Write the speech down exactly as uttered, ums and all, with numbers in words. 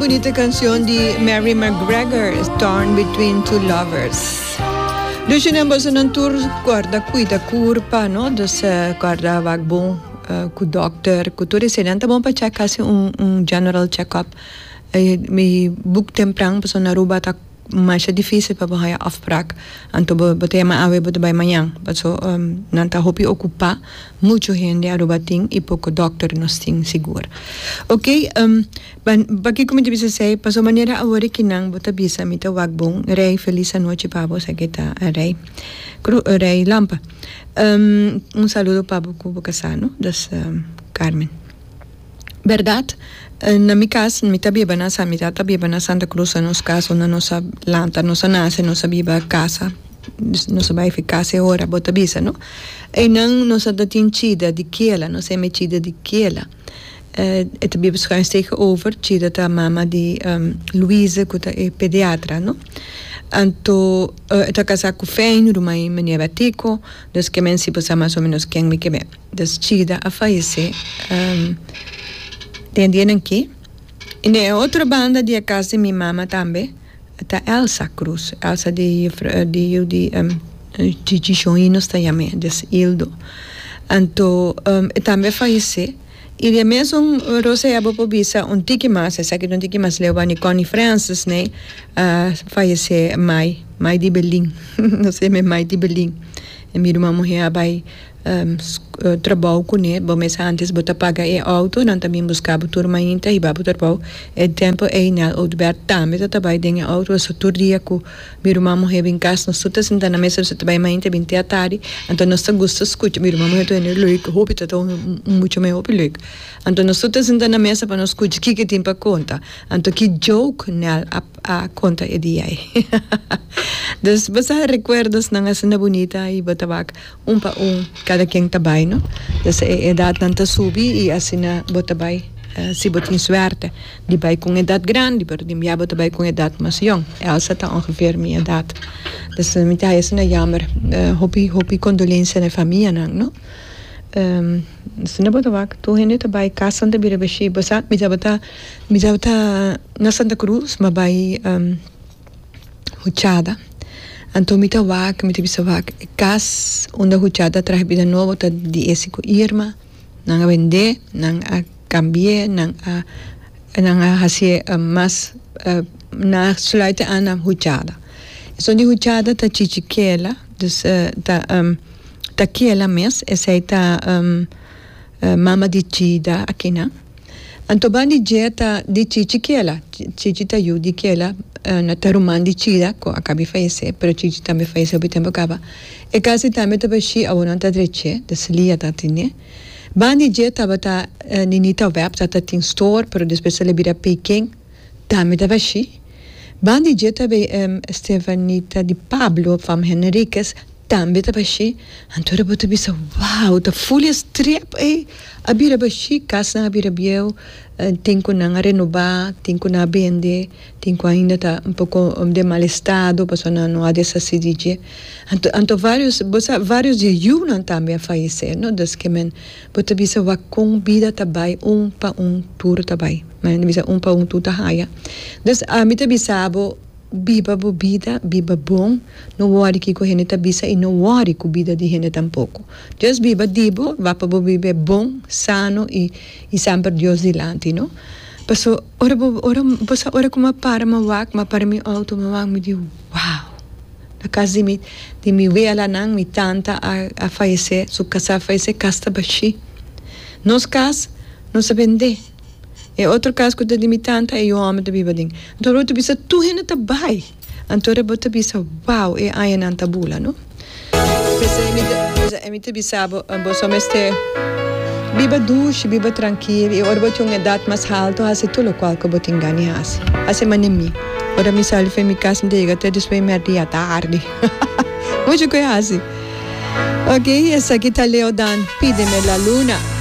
Bunita cancion di Mary McGregor, Torn Between Two Lovers. Dus nan boso nan tur corda cuida curpa, no? Dus uh, corda wak bon uh, cu dokter, cu tur esey. Ta bon pa check casi un, un general check-up. Eh, mi boek tempran, paso na Aruba ta mas dificil pa haya afspraak. Anto bo bo ta yama awe bo ta bay mañan. Paso um, nan ta hopi ocupa mucho hende Aruba tin y poco dokter nos tin sigur. Ok, um, ban pakico mi ta bisa esey, paso manera awor cu nan bo ta bisa mi ta wak bon, rey feliz anochi pa bo sa ta rey. Cru, rey Lampa. Um, un saludo pa bo cu bo casa, no? Dus um, Carmen. Berdad? Na mi cas, mi ta biba na mi tata biba na Santa Cruz, na nos cas, na nos a lanta, nos a nace, nos a biba casa, nos a bay casa ora, bo ta bisa, no? Y nan nos a tin Chida di Kela, nos yama Chida di Kela. Uh, e ta biba schuins tegenover, Chida ta mama di um, Louise, cu ta e pediatra, no? Anto, uh, e ta casa cu Fein, ruman meneer Batico, dus cu mensen sa mas o menos ken mi ke Dus Chida a fayece, um, den dia aki. Y na otro banda di cas di mi mama tambe, ta Elsa Cruz. Elsa di di di um, Gigi Shoino sta yama, dus Ildo. Anto, um, tambe a fayece. Y di mesun Rosa bo por bisa un tiki mas, esaki un tiki mas leu Connie Francis, ne? Uh, fayece mai, mai di Berlin. No sei, mai di Berlin. Y mi ruman muhe a bay um, trabou cune, bo mes antes bo ta paga e auto, nan tambe busca bo tur mainta y babo trabou. E tempo e na Oudbert tambe ta bay den auto, so tur dia cu mi ruman muhe bin cas, nos tur ta sinta na mesa, so bay mainta bin te atardi, anto nos ta gusta scucha, mi ruman muhe ta leuk, hopi ta mucho me hopi leuk. Anto nos tur ta sinta na mesa pa nos scucha kico tin pa conta. Anto ki joke nel a, a conta e dia ey. Dus bo sa recuerdos nan asina bunita y bo ta wak un pa un cada ken ta bay, no? Dus e edad nan ta subi y asina bo ta bay uh, si bo tin suerte di bay cu edad grandi, pero di bo ta bay cu edad mas jong. Elsa ta ongeveer mi edad. Dus mi ta asina jammer, uh, hopi hopi condolencia na famia nan, no? Um, asina bo ta wak, tur hende ta bay cas ta bira bashi, bo sa, mi tabata mi tabata na Santa Cruz, m'a bay um, Huchada. Anto mi ta wak, mi ta bisa wak, cas unda Huchada traha bida nobo ta di ese cu Irma, nan a bende, nan a cambia, nan a nan a haci uh, mas uh, na sluiten aan na Huchada. So di Huchada ta Chichi Kela, dus uh, ta um, ta Kela mes, esey ta um, uh, mama di Chida aki na. Anto bandi dje ta di Chichi Kela, Chichi ta yu di Kela, uh, na ta ruman di Chida, cu a caba di fayece, pero Chichi tambe a fayece hopi tempo caba. E cas tambe ta bashi awor nan ta dreche, dus Lia ta tene. Bandi dje tabata uh, Ninita Web, tata tin store, pero despues el a bira Peking, tambe ta bashi. Bandi dje tambe um, Stefanita di Pablo van Henriquez, tambe ta bashi. Anto bo ta bisa, wow, ta full e strip ey. A bira bashi, cas nan a bira bieu, uh, tin cu nan a renoba, tin cu nan a bende, tin cu ainda ta un poco um, den mal estado, paso nan no a deshaci di dje. Anto, anto varios, bo sa, varios di yiunan tambe a fayece, no? Dus ke men, bo ta bisa wak con bida ta bay un pa un tur ta bay. Ma bisa un pa un tur ta haya. Dus ami ta bisa bo biba bo bida, biba bon, no worry kico hende ta bisa y no worry cu bida di hende tampoco. Just biba di bo, wak pa bo biba bon, sano y y semper Dios dilanti, no? Paso ora bo ora bo sa ora cu m'a para m'a wak, m'a para mi auto, m'a wak mi di wow. Na cas di mi di mi wela nan, mi tanta a a fayece, su casa a fayece, cas ta bashi. Nos cas nos a bende. E otro cas cu di mi tanta e homber ta biba den. Anto bo ta bisa tur hende ta bay. Anto bo ta bisa wow, e añanan ta bula, no? P'esey mi ta bisa bo bo mester biba dushi, biba trankil y ora bo tin un edad mas halto, haci tur loke cu bo tin gana di haci. Haci manera mi. Ora mi sali for di mi cas, mi yega te despues merdia tardi. Mucho cu haci. Ok, esaki ta Leo Dan, Pídeme la luna.